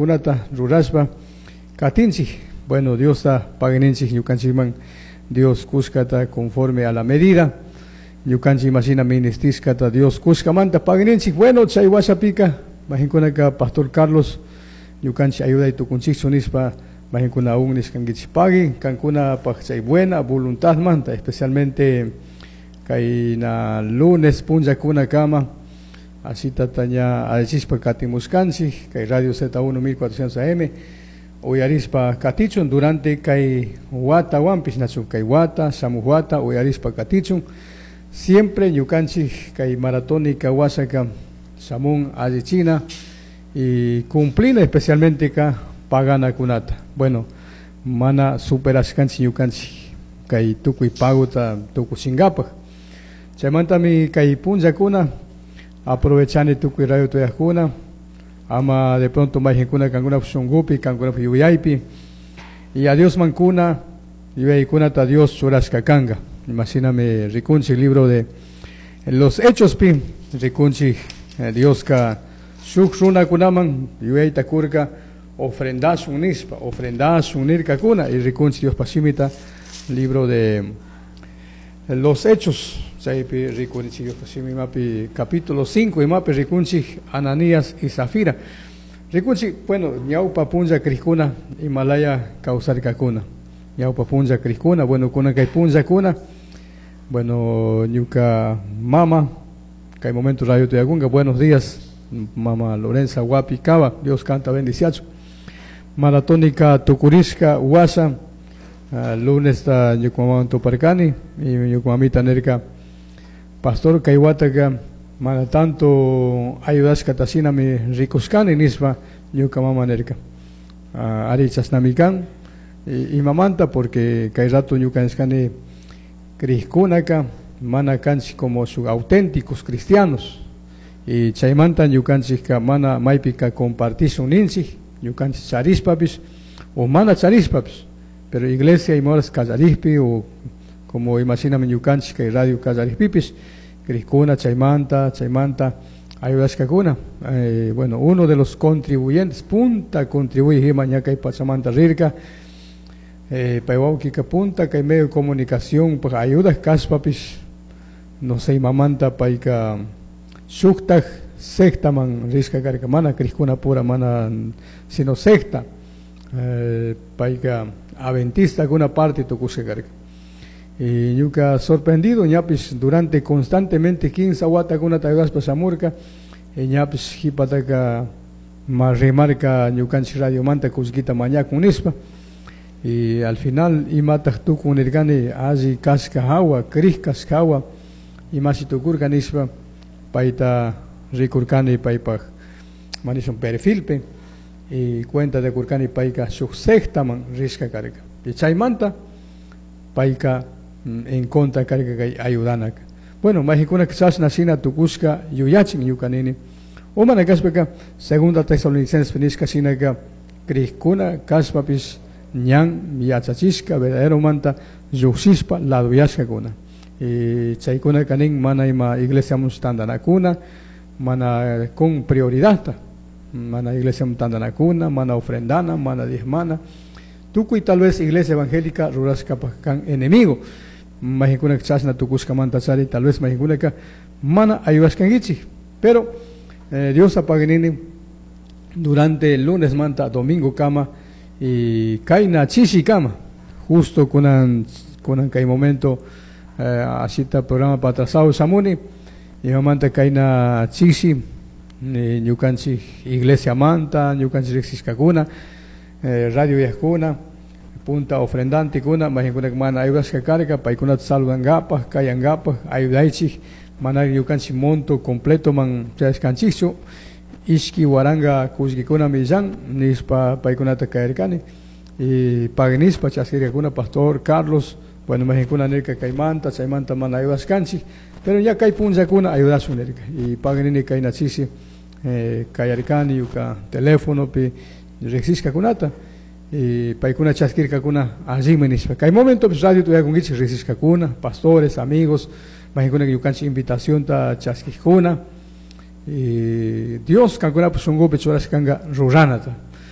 Pagokunata rurashpa katinchik. Bueno, Diosta pagui ninchik ñukanchikman Dios kushkata conforme a la medida. Ñukanchik imashina ministishkata Dios kushkamanta pagui ninchik. Bueno, chay washapika mayqinkunaka Pastor Carlos ñukanchik ayuday tukunchikchu nishpa mayqinkuna aún nishkankichik pagui kankunapaj chay buena voluntadmanta, especialmente kayna lunes punllakunakama asitata ña allichishpa katimushkanchik kay Radio Z1 1400 AM uyarispa katichun durante kay watawanpish, nachu kay wata shamuj wata uyarishpa katichun. Siempre ñukanchik kay maratónica washaka shamun allichina y cumplina, especialmente ka paganakunata. Bueno, mana superashkanchik ñukanchik kay tukuy pagota tukuchinkapaj. Chaymantami kay punllakuna aprovechani tukuy radio tuyajkuna ama de pronto mayqinkuna kankunapaj shunkupi, kankunapaj yuyaypi y a Diosman kuna yuyaykunata Dios churashka kanka. Imashinami rikunchik libro de los Hechos pi rikunchik, Dioska shuk runakunaman yuyayta kurka ofrendashun nishpa, ofrendashun nirkakuna. Y rikunchik Diospa shimita libro de los Hechos, chaypi rikunchik Diospa shimi imapi capítulo 5 imapi rikunchik Ananías y Zafira. Rikunchik, bueno, ñawpa punlla krikuna imalaya kawsarkakuna, ñawpa punlla krikuna. Bueno, kunan kay punllakuna, bueno, ñuka mama kay momento radio tuyakunka. Buenos días, mama Lorenza Guapi Cava, Dios kanta bendiciachu. Maratónica tukurishka washa, lunes ta ñuka mamawan tuparkani y ñuka mamita nirka: "Pastor, kay wataka mana tanto ayudashkata shinami rikushkani", nishpa ñuka mama nirka. Ari, chashnami kan. Imamanta? Porque kay rato ñuka nishkani krikkunaka mana kanchik como shuk auténticos cristianos y chaymanta ñukanchikka mana maypika compartishun ninchik ñukanchik charishpapish o mana charishpapish. Pero iglesia ima horas kallarikpi o como imashinami ñukanchik kay radio kallarikpipish krikuna chaymanta ayudashkakuna. Bueno, uno de los contribuyentes, punta contribuyej ima ña kay pachamanta rirka. Pay wawkika punta kay medio de comunicación paj ayudak kashpapish, no sé imamanta payka shuktak sectaman rishka karka, mana krikuna pura mana, sino secta. Payka adventistakuna parte tukushka karka. Y ñuka sorprendido, ñapish durante constantemente 15 watakunata ayudashpa shamurka y ñapish jipataka ma rimarka ñukanchik radiomanta kullkita mañakun nishpa. Y al final imataj tukun nirkani, alli kashka hawa, krik kashka hawa imashi tukurka nishpa payta rikurkani paypaj manishun perfilpi y cuenta de kurkani payka shuk sectaman rishka karka y chaymanta payka en contra karka kay ayudanaka. Bueno, mayqinkunaka chashna shina tukushka yuyachin ñuka nini o mana kashpaka Segunda Tesalonicenses nishka shinaka krikuna kashpapish ñan yachachishka verdaderomanta llukshishpa laduyashkakuna. Y chaykunaka nin mana ima iglesiamun tantanakuna, mana con prioridad, mana iglesiamun tantanakuna, mana ofrendana, mana diezmana tukuy tal vez iglesia evangélica rurashkapaj kan enemigo. Mayqinkunaka chashna tukushkamanta chari tal vez mayqinkunaka mana ayudashkankichik. Pero Dios apaginini durante el lunes manta domingo kama y kayna chishi kama, justo kunan kay momento asita programa patrasado shamuni imamanta kayna chishi ñukanchik iglesia manta ñukanchik riqsishkakuna, radio yajkuna punta ofrendantekuna mayqinkunaka mana ayudashka karka, paykunata saludankapaj, kayankapaj ayudaychik. Mana ñukanchik monto completo man chayashkanchikchu, 2000 kullkikunami illan nishpa paykunata kayarkani y pagui nishpa chaskirkakuna. Pastor Carlos, bueno, mayqinkuna nirka kaymanta chaymanta mana ayudashkanchik, pero ya kay punllakuna ayudashun nirka y pagui nini kayna chishi kayarkani ñuka telefonopi riqsishkakunata y paykuna chaskirkakuna allimi nishpa. Kay momento radio tuyakunkichik riqsishkakuna, pastores, amigos, mayqinkuna ñukanchik invitacionta chaskikuna y Dios kankunapak shunkupi churashkanka ruranata.